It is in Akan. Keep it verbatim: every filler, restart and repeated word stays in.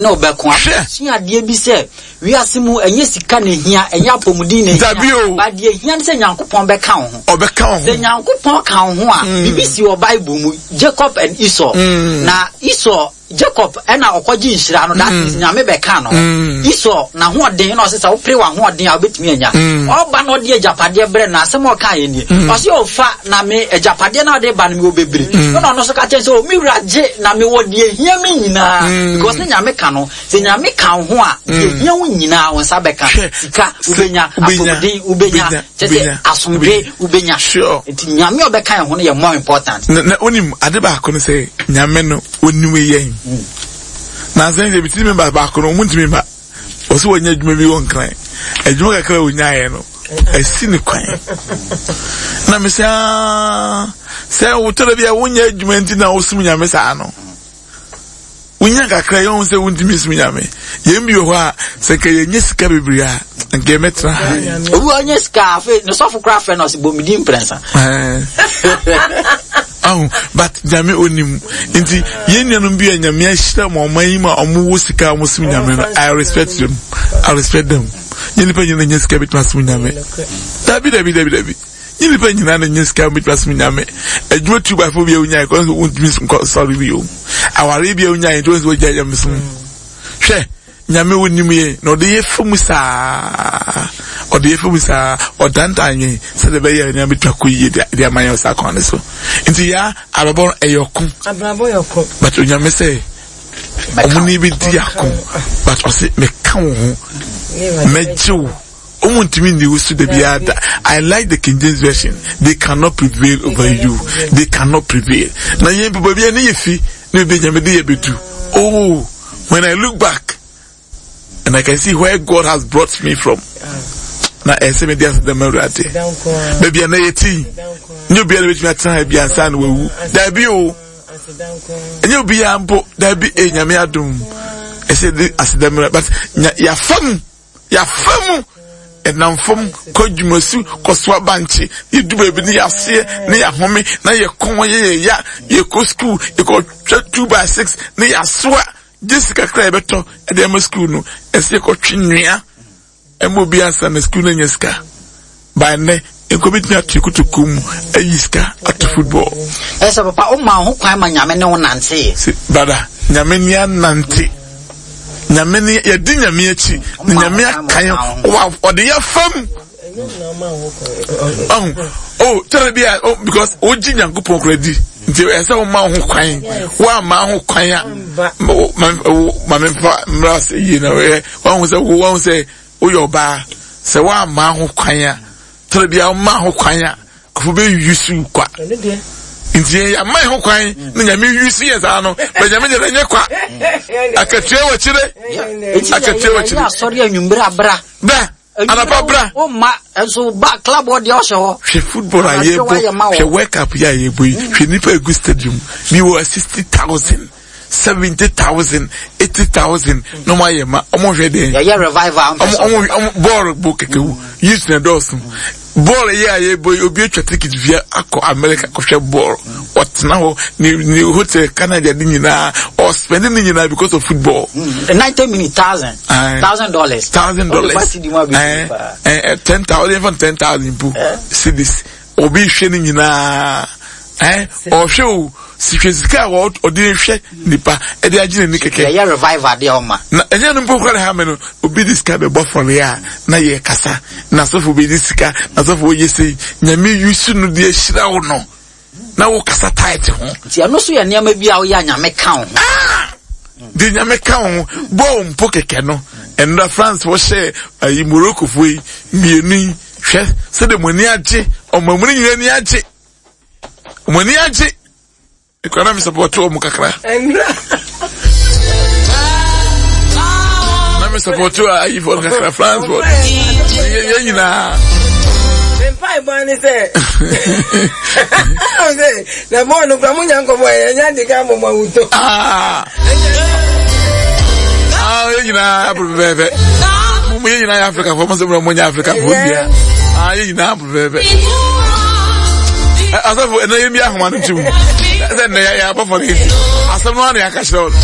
Ne ɔbɛko Hwɛ. asua adeɛ bi sɛ wiase mu, ɛnyɛ sika na ehia, ɛnyɛ apɔmuden na ehia. Dabi o. Ba deɛ ehia ne sɛ Nyankopɔn bɛka wo ho. Ɔbɛka wo Sɛ ho. Nyankopɔn ka wo ho a, biribi si wɔ Bible mu, Jacob and Esau. Na Esau, Jacob ɛna ɔkɔgye nhyira no, that is, Nyame bɛka no. Esau n'ahoɔden na ɔsɛ sɛ wopere w'ahoɔden a, wobɛtumi anya. Ɔba na ɔde agyapadeɛ brɛ no, asɛm a ɔka yɛ nie, ɔsɛ ɔfa na me agyapadeɛ na ɔde ba no, mewɔ bebree. Ɛna ɔno nso ka kyerɛ sɛ, o me wura, gye na mewɔ deɛ hia me nyinaa, because ne Nyame ka no. Sɛ Nyame ka wo ho a, deɛ hia wo nyinaa wo nsa bɛka. Hwɛ. Sika wobɛnya, Wobɛnya. apɔmuden wobɛnya, Wobɛnya. kyɛ sɛ Wobɛnya. asomdwe wobɛnya. Sure. Nti Nyame a ɔbɛka yɛn ho no yɛ more important. na na onim ade baako no sɛ Nyame no onim yɛn na nsɛn sɛ bitiri member baako no, ɔmo ntumi ba. Ɔsɛ wɔnyɛ adwuma bi wɔ Nkran, adwuma kakra a onyaeɛ no asi ne kwan. Na mesɛ, "Ah, sɛ wotɔrɔ bi a wonyɛ adwuma nti na wosom Nyame saa no, wonya kakra yɛn ho sɛ wontumi som Nyame." Yɛn bi wɔ hɔ a, sɛ nka yɛnyɛ sika bebree a, nka yɛmɛtena ha. Obi wa ɔnyɛ sika, afei ne sɔfo koraa frɛ no, ɔsɛ bɔ mprɛnsa. Ahu, but Nyame onim. Nti yɛn nuanom bi a Nyame ahyira ma ɔman yi ma ɔmo wɔ sika a ɔmo som Nyame no, I respect them, I respect them. Nyɛ nipa nyina nyɛ sika bituma som Nyame. Dabi, dabi, dabi, dabi, nyɛ nipa nyina na nyɛ sika bituma som Nyame. Adwuma two by four bi a wonya kɔ nso, wontumi nkɔ sɔre bi o. Aware bi a wonya nti wɔn nso wɔgya Nyame som. Hwɛ, Nyame onim yɛn na ɔde yɛ fam saa, ɔde yɛ fam saa, ɔdantan yɛn sɛdeɛ ɛbɛyɛ a nneɛma bɛtumi akɔ yie de de ama yɛn saa kwan no so. Nti yaa abrabɔ no ɛyɛ ɔko. Abrabɔ yɛ ɔko. But Onyame sɛ ɔmo ne bi di ako, but ɔse meka wo ho, mɛgye wo, ɔmo ntumi nni wo so da biara da. I like the King James Version: "They cannot prevail over you, they cannot prevail." Na yɛn mpo, baabi a ne yɛ fi ne baabi a Nyame de yɛ bɛdu, oh, when I look back and I can see where God has brought me from, na ɛsɛ mi de ase dɛm Awurade. Baabi a na yɛ ti nye obiara bɛtumi atena ha bi ansa na wawu. Dabi o, ɛnyɛ obiara mpo, dabi. E Nyame adum, ɛsɛ de asedɛm, but nya yafa mu, yafa mu, ɛnam fam kɔ dwumasu, kɔso abankye, yɛdu baabi ne yɛaseɛ ne yɛahome na yɛkɔn yɛ yɛ ya. Yɛkɔ school, yɛkɔtwa two by six ne yɛasoa gye sika kakra yɛbɛtɔ ɛde ama school no. Ɛsɛ yɛkɔtwe nnua ɛma obi ansa na school no anya sika. By nnɛ nkɔ bɛtumi ato kotokuo mu ayi sika ato football. Ɛsɛ papa woma wo ho kwan ma Nyame ne wo nantee. Sɛ brother, Nyame ni anante, Nyame ni yɛdi Nyame akyi na Nyame aka yɛn, ɔde yɛ fam. Ɔho o kyerɛ bi a, oh, because wogye Nyankopɔn kora di nti ɛsɛ woma wo ho kwan. Woamma ho kwan a, ma memfa mmra sɛ yie na wahu sɛ wo wahu sɛ woyɛ ɔbaa sɛ woamma ho kwan a, kyerɛ bi a woma ho kwan a, kofo bɛ yusu kwa. Nti yɛn yɛama yɛn ho kwan na Nyame yusu yɛ saa no bɛ Nyame deɛ ɛnyɛ kwa, akatua wɔ akyire, akatua wɔ akyire. Asɔre anwummerɛ abra. Bra anapa, bra. Womma nso ba club hɔ deɛ, ɔhyɛ hɔ. Hwɛ football a yɛbɔ, hwɛ World Cup yɛ a yɛbɔ yi, hwɛ nipa egu stadium bi wɔ sixty thousand, seventy thousand, eighty thousand na ɔmo ayɛ ma ɔmo hwɛ deɛ. Yɛyɛ revival. Ɔmo ɔmo ɔmo bɔɔl bɔ kɛkɛ wu, youth na dɔɔso. Bɔɔl yɛ a yɛbɔ yi, obi atwa ticket via akɔ America kɔhwɛ bɔɔl, ɔtena hɔ ne ne hotel Canada de nyinaa, ɔspend ne nyinaa because of football. Ninety minutes, thousand thousand dollars. Thousand dollars, ɛɛ ɛɛ ten thousand, yɛn ten thousand po cedis. Obi hwɛ ne nyinaa, ɛɛ ɔhwɛ o, hwɛ sika a ɔde hwɛ nipa ɛde agye n'ani kɛkɛ. Yɛyɛ revival deɛ, ɔma. Na ɛnyɛ no mpo kora ha mi no, obi de sika bɛbɔ fɔre a na yɛ kasa na asɔfo bi de sika na asɔfo yɛ sɛ Nyame yusu no de ahyira wo no na wo kasa tight ho. Nti ɛno nso yɛ nneɛma bi a woyɛ a Nyame ka wo ho. Ah! De Nyame ka wo ho. Bɔɔl mpo kɛkɛ no, ɛnura France wɔhyɛ ayi Morocco fo yi mmienu yi, hwɛ sɛdeɛ mo ani agye, ɔmo mu no nyinaa ani agye, mo ani agye. Ekura na mi support wɔn kakra. Na mi support ayi fɔ kakra, France fɔ yɛ yɛ nyinaa. Mpaebɔ ne sɛ na bɔɔl no kura mo nya nkɔmɔ yɛ nya de ka mɔmɔ awutɔ. Ah, ah, yɛ nyinaa pɛpɛpɛ. Mo yɛ nyinaa yɛ Africa fɔ, mo sɛ mo nyɛ Africa fɔ bia. Ah, yɛ nyinaa pɛpɛpɛ. Asafo ɛnna yɛ mi ahoma no tum sɛ nnɛ yɛ abɔ fɔ ne asɛm no ana yɛ aka kyerɛ wo no.